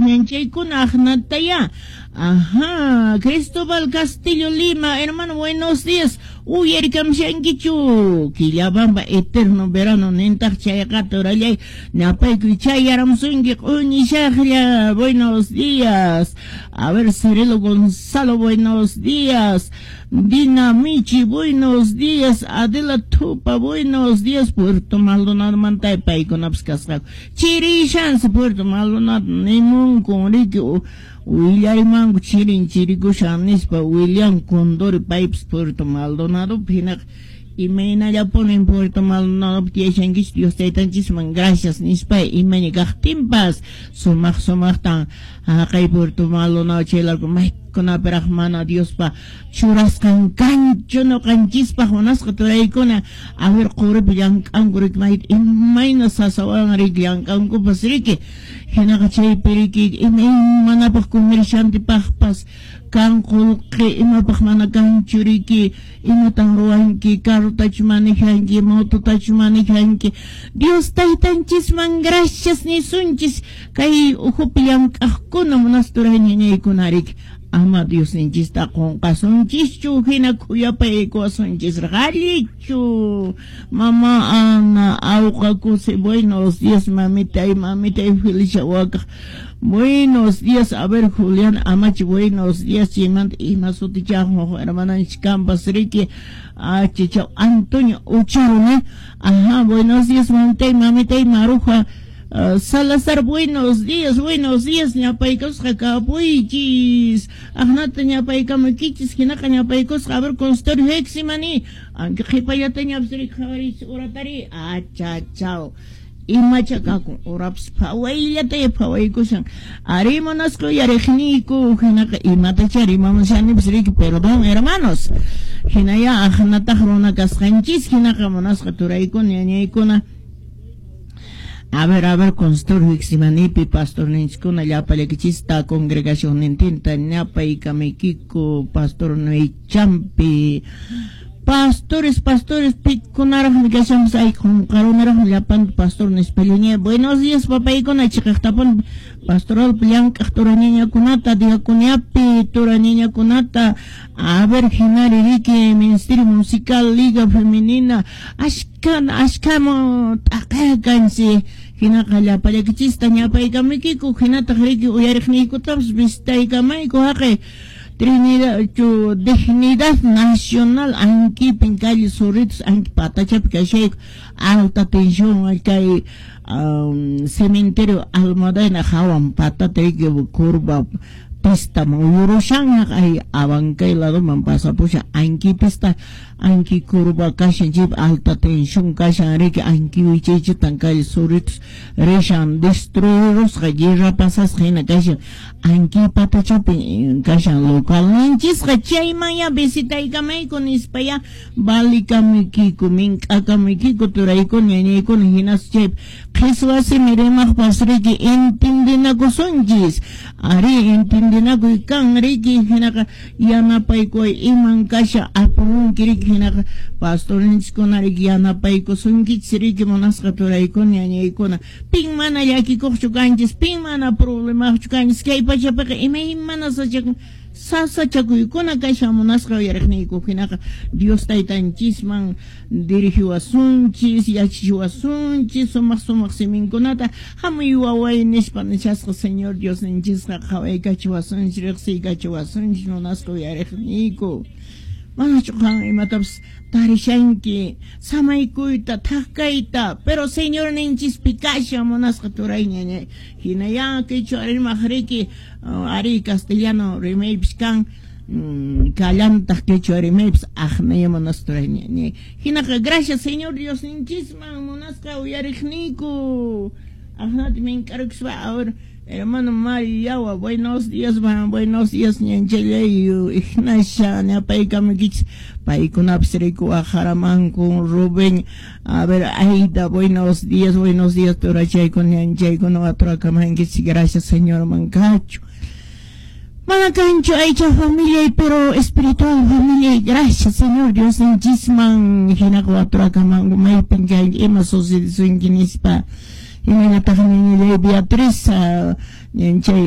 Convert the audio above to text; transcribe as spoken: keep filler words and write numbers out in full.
Ñanchaykuna aqnataya. Ajá, Cristóbal Castillo Lima, hermano, buenos días. Uyarikamshankichu. Quillabamba eterno verano nintaq chayqa turallay. Ñapaykuy chayaramusunki q'uñishaqlla. Buenos días. A ver, Cirilo Gonzalo, buenos días. Dina Michi, buenos días. Adela Tupa, buenos días. Puerto Maldonado mantay paykunapas kasqaku. Chirishansi Puerto Maldonado nimunkun riki willarimanku chirin chirikushan nispa William Condori paypas Puerto Maldonado hinaqa imaynallapunin Puerto Maldonado tiyashankichik Dios taytanchisman gracias nispa imayna kaqtinpas sumaq sumaqtan haqay Puerto Maldonado chaylarku maykunapiraq mana Diospa churasqan kanchu ñuqanchispaq munasqa turaykuna. A ver, quripi llank'anku riki mayta imayna sasawan riki llank'ankupas riki hinaqa chaypi riki imaymanapaq comerciantepaqpas kan qullqi imapaq mana kanchu riki imatan ruwanki carrotachu manejanki mototachu manejanki. Dios taytanchisman gracias nisunchis kay ukhupi llank'aqkuna munasqa turay ñañaykuna riki ama Diosninchista qunqasunchischu hina khuyapaykuwasunchis allichu. Mama Ana Auqakusi, buenos días mamitay, mamitay Felicia Wakaq, buenos días. A ver, Julián Amachi, buenos días. Chaymanta ima sutichaq hermananchik kampas riki achichaw Antonio Ucharo, ne. Ajá, buenos días mamitay, mamitay Maruja Uh, Salazar, buenos días, buenos días, ñapaykusqa kapuychis. Aqnata ñapaykamaykichis, hinaqa ñapaykusqa, a ver, consultorio Heximani. Aunque qhipallata ñapas riki qhawaris uratari, achachaw. Imacha kakun, urapas phawayllata phawaykushan. Ari munasqa uyariqniyku, hinaqa imatacha rimamushanipas riki, perdón, hermanos. Hinaya aqnataq runa kasqanchis, hinaqa munasqa turaykuna, ñañaykuna. A ver, a ver, consultorio Heximanipi, pastor ninchikuna, llapallaykichista, congregación nintinta, ñapaykamaykiku, pastor Noichampi, pastores, pastores, pikunaraqmi kashanpas, ay, qunqarunaraqmi llapan pastor nispallaña. Buenos días, papaykuna, chiqaqtapuni pastoralpi llank'aq turañañakunata, diaconiapi turañañakunata, a ver, hinari riki, Ministerio Musical, Liga Femenina, ashkan, ashkamu t'aqay kansi, hinaqa llapallaykichista ñapaykamaykiku, hinataq riki uyariqniykutapas visitaykamayku haqay Trinidad, chu, Dignidad Nacional, Anquipin, calle Zorritos, Anqui Patachapi kashayku, alta tensión, kay um, cementerio Almudena, hawan patata riki curva pista muyurushan ay Abancay ladoman pasapushan Anqui pista Anqui curva kashan chip alta tensión kashan riki Anqui wichaychitan calle Zorritos rishan destruirusqa guerra pasasqa hina kashan Anqui patachapi kashan localninchisqa chaymanya visitaykamayku nispaya valikamuykiku mink'akamuykiku turaykuna ñañaykuna hinas chay qhiswa simi rimaqpas riki entendinakusunchis ari entendinakuy kan riki hinaqa yanapaykuway iman kasha apamunki riki hinaqa pastorninchiskuna riki yanapaykusunkichis riki munasqa turaykuna ñañaykuna pin mana llakikuqchu kanchis pin mana problemaqchu kanchis kay pachapiqa imaymana sachakun sasachakuykuna kashan munasqa uyariqniyku hinaqa Dios taytanchisman dirigiwasunchis yachachiwasunchis sumaq sumaq siminkunata hamuy waway nispa nishasqa Señor Diosninchisqa qhawaykachiwasunchis riqsiykachiwasunchis munasqa uyariqniyku manachu qan imatapas tarishanki samaykuyta thak-kayta pero Señor ninchispi kashan munasqa turay ñañay hinaya quechua rimaq riki ari castellano rimaypis kan kallantaq quechua rimaypis aqnaya munasqa turay ñañay hinaqa gracias Señor Dios ninchisman munasqa uyariqniyku aqnata mink'arukuspa ahora hermano Mariyawa, buenos días, buenos días, ñanchallay, Ignacia, ñapaykamaykichis, paykunapas riku aqharamanku, Rubén, a ver, Aida, buenos días, buenos días, turachaykuna, ñanchaykuna, waturakamankichis, gracias, Señor mankachu. Mana kanchu aycha familia, pero espiritual familia, gracias, Señor Dios, ninchisman, hinaqa waturakamanku, maypin kanki, ima sucedisunki nispa. Imaynataq ñañallay Beatriz, ñanchay